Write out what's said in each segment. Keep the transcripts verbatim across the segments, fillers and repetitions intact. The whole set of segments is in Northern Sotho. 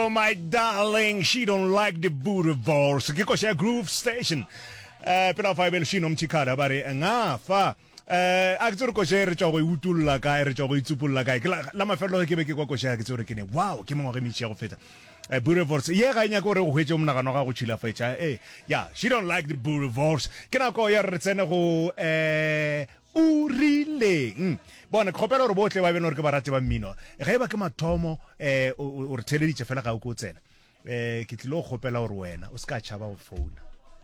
Oh my darling, she don't like the boerewors. Ke koša ya Groove Station. Eh pela fa ebele shino mthikhala ba re ngafa. Eh a ke tsore koša e re tšwa go e utolla kae, re tšwa go itsupolla kae. Ke la, la mafelelo ge ke be ke kwa koša ya ke tsore ke ne wow, ke mengwaga e mentši ya go feta. Eh boerewors ye ga e nyake gore go hwetše monagano wa gago go tšhilafetša. Eh yeah, she don't like the boerewors. Ke nako ya re tsene go eh o rileng. Bona ke kgopela gore bohle ba bene gore ke barati ba mmino. Ge e ba ke mathomo eh o re theleditše fela ga o ke o tsena. Eh ke tlile go kgopela gore wena o se ka tšhaba go founa.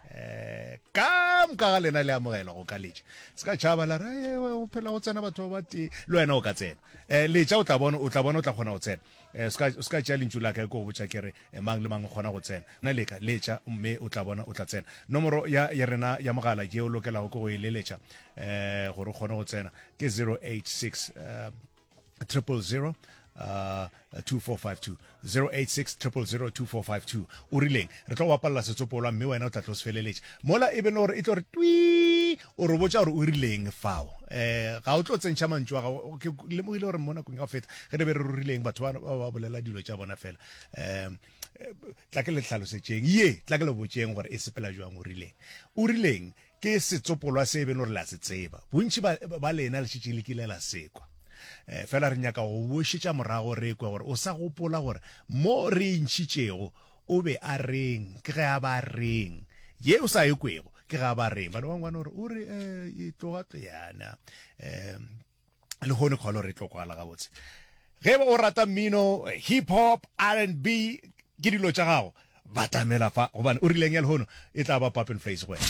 Eh ka moka ga lena le amogela go ka letša. Se ka tšhaba la re o phela go tsena batho ba batee le wena o ka tsena. Eh letša o tla bona o tla bona o tla kgona go tsena. Eh se ka se ka tšea lentšu la ka ke go botša ke re mang le mang o kgona go tsena. Na leka letša mme o tla bona o tla tsena. Nomoro ya ya rena ya mogala ye o lokelago ke go e leletša eh gore o kgone go tsena ke zero eight six triple zero uh, two four five two zero eight six triple zero two four five two. O rileng re tlo bapalela setsopolwa mme wena o tla tlo se feleletša mola e be le gore e tlo re twi o re botša gore o rileng fao. Eh ga o tlo tsentšha mantšu a gago. Ke lemogile gore mo nakong ya go feta ge re be re rurileng batho ba ba bolela dilo tša bona fela. Um tla ke le tlhalosetšeng ye, tla ke le botšeng gore e sepela jwang. O rileng, o rileng ke setsopolwa se e beng gore le a se tseba, bontši ba, ba lena le šetše le kile la sekwa. Eh, fela re nyaka go bošetša morago re kwe gore o sa gopola gore mo re ntšhitšego o be a reng, ke ge a ba reng, ye o sa e kwego ke ge a ba reng. Bana ba ngwana gore o re eh, e tloga yana eh, le kgone kgolo re tlo kwala gabotse. Ge o rata mmino hip hop, R and B, ke dilo tša gago, batamela fa gobane o rileng ya lehono e tla ba pop and face go wena.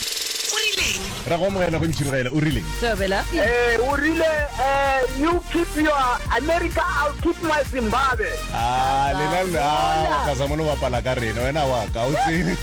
O rileng? Ra go amogela go ntšhirogela. O rileng? Thobela. Eh, o rile eh, you keep your America, I'll keep my Zimbabwe. Ah, lena le ah, ka sa mono bapala ka rena wena wa ka o tsebe.